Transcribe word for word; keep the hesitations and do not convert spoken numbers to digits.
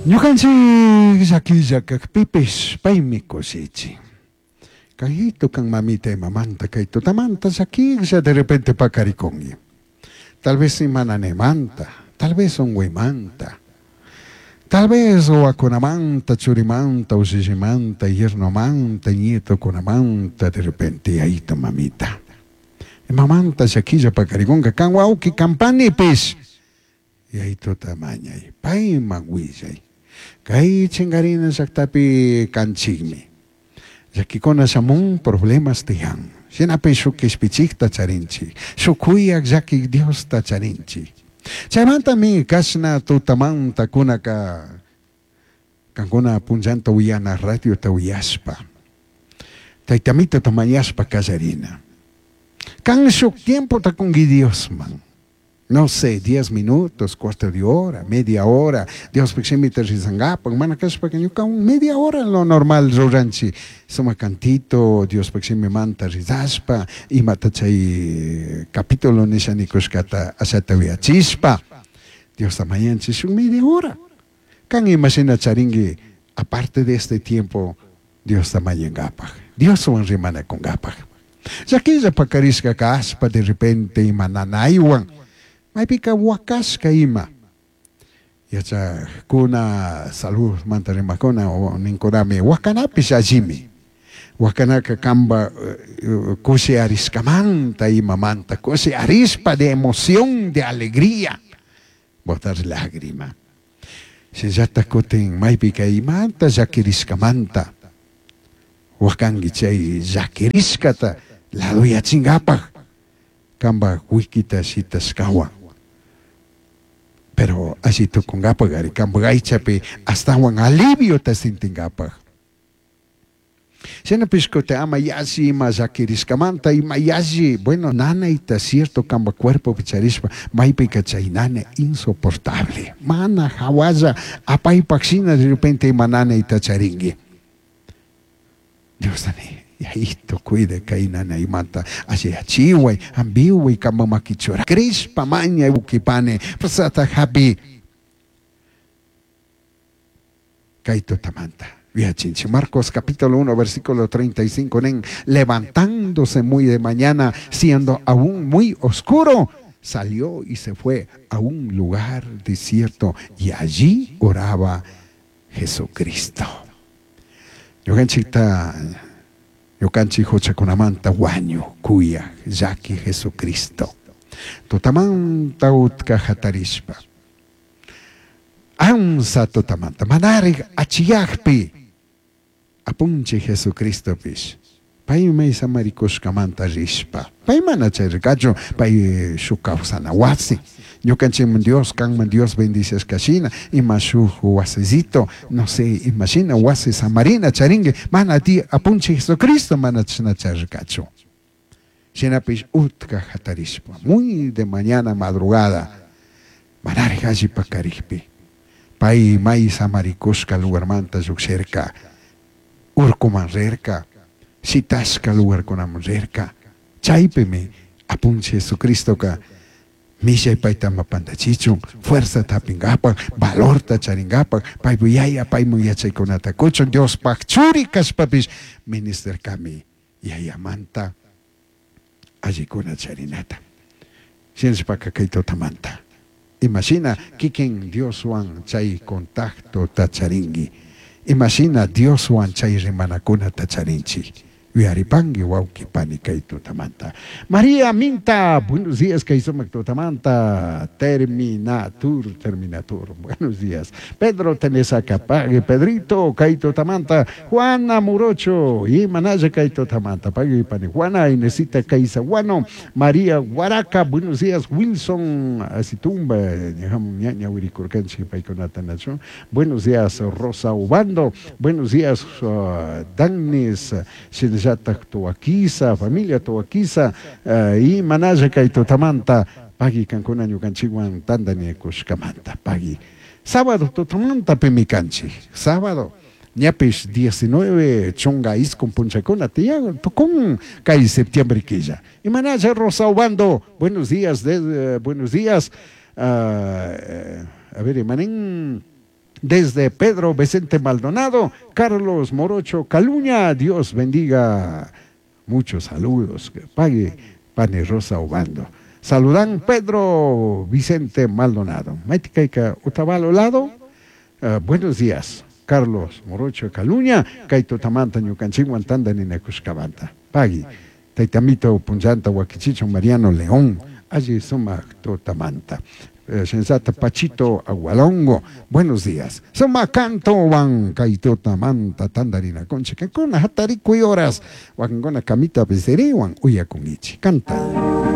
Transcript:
Ñukanchik llakilla kakpipish paymi kushichin. Kayito kan mamita imamanta kay tutamanta llakilla de repente pakarikunki. Tal vez imananimanta, tal vez unguymanta, tal vez wawakunamanta, churimanta, ushishimanta, yernomanta, nietokunamanta de repente yayito mamita. Imamanta llakilla pakarikunka kan wawki kan panipish yayituta mañay, payman willay. Kay chinkarina llaktapi kanchikmi. Llakikuna shamun problemas tiyan. Shinapish shuk kishpichikta charinchik, shuk kuyak llakik Diosta charinchik. Chaymantami kashna tutamanta kunaka kankuna punllanta uyana radiota uyashpa, taytamitata mañashpa kallarina. Kan shuk tiempota kunki Diosman. No sé, diez minutos, cuarto de hora, media hora, Diospaj shimita rizangapak, mana kashpaka ñuka un media hora lo normal ruranchik. Suma cantito, Diospaj shimimanta rizashpa, imata chay capítulo nisha nikushkata ashata uyachishpa, Diosta mañanchik shuk media hora. Kan imashina charinki, aparte de este tiempo, Diosta mañangapak, Dioswan rimanakungapak. Llakilla pakarishka kashpa de repente ima nanaywan, maypika wakashka ima. Yachakuna salud manta rimakuna o ninkunami wakanapish allimi. Wakanaka kamba kushi arishkamanta imamanta, kushi arishpa de emoción, de alegría, botar lágrima. Shinallata kutin maypika imanta llakirishkamanta, wakanki chay llakirishkata laduyachinkapak, kamba wikita shitashkawan. Pero alli tukunkapak ari kamba aychapi astawan aliviota sintinkapak. Shinapish kutin ama yalli ima llakirishkamanta, ima yalli, bueno, nanayta cierto kamba cuerpopi charishpa, maypika chay nanay insoportable. Mana hawalla apaypak shina de repente ima nanayta charinki. Dios ni, yayito cuide kay nanaymanta, alliyachiway, hampiway kamba makichura. Crishpa mañay ukipane, pasata hapi. Kay tutamanta. Viachinchi. Marcos capítulo uno, versículo treinta y cinco, nen, levantándose muy de mañana, siendo aún muy oscuro, salió y se fue a un lugar desierto y allí oraba Jesucristo. Ñukanchikta, ñukanchik huchakunamanta wañu, kuya, llaki Jesucristo. Tutamanta utka hatarishpa. Ansa tutamanta, manarik achiyakpi, apunchi Jesucristopish. Pay may samarikushkamanta rishpa. Pay mana chayrikachu, pay shuk kawsana wasi. Ñukanchikman Dios, kanman Dios bendiciashkashina, ima shuk wasicito, no sé, imashina wasi samarina charinki, mana ti apunchi Jesucristo mana chashna chayrikachu. Shinapish utka hatarishpa, muy de mañana madrugada, manarik alli pakarikpi. Pay may samarikushka lugarmanta llukshirka, urkuman rirka, shitashka lugarkunaman rirka. Chaypimi apunchi Jesucristoka mishay payta ama pantachichun, fuerza tapingapak, valorta charingapak, paypu yaya paymun yachaykunata kuchun, Diospaj churi kashpapish ministerkami yayamanta allikuna charinata. Shinashpaka kay tutamanta. Imashina kikin Dioswan chay contacto tacharinki. Imashina Dioswan chay rimanakuna tacharinchik. Yuyaripanki wawki pani kay tutamanta. María Minta, buenos días kay sumak tutamanta. Terminatur, terminatur, buenos días. Pedro Tenesaca, pague Pedrito kay tutamanta. Juana Murocho, y Manaya kay tutamanta. Pague pani Juana, Inesita Kaisaguano, María Guaraca, buenos días. Wilson Asitumba, ñaña Wirikurkanchi, paykunata nacho. Buenos días, Rosa Ubando. Buenos días, uh, Danis, Shinja Toaquiza, familia Toaquiza, uh, y Manaya kay tutamanta, pagui kankuna ñukanchikwan tantanakushkamanta, pagui. Sábado tutamanta pimikanchik, sábado, ñapish diecinueve chunga iskun punchakuna tiyan, tukun kay septiembre killa. Y Manaya Rosa Ubando, buenos días, de, uh, buenos días, uh, a ver, manin, Desde Pedro Vicente Maldonado, Carlos Morocho Caluña, Dios bendiga. Muchos saludos. Pague, Pani Rosa Obando. Saludan Pedro Vicente Maldonado. Maitikayka Otavalo lado. Uh, buenos días. Carlos Morocho Caluña, kay tutamanta ñukanchikwan tantarinakushkamanta. Pagui. Taytamito punllanta wakichichun Mariano León, alli sumak tutamanta. Eh, Sensata Pachito Agualongo, buenos días. Sumak cantowan kay tutamanta tantarinakunchik. Kuna hatarikuy horas, wakinkuna kamita pisiriwan uyakunkichik. Cantay.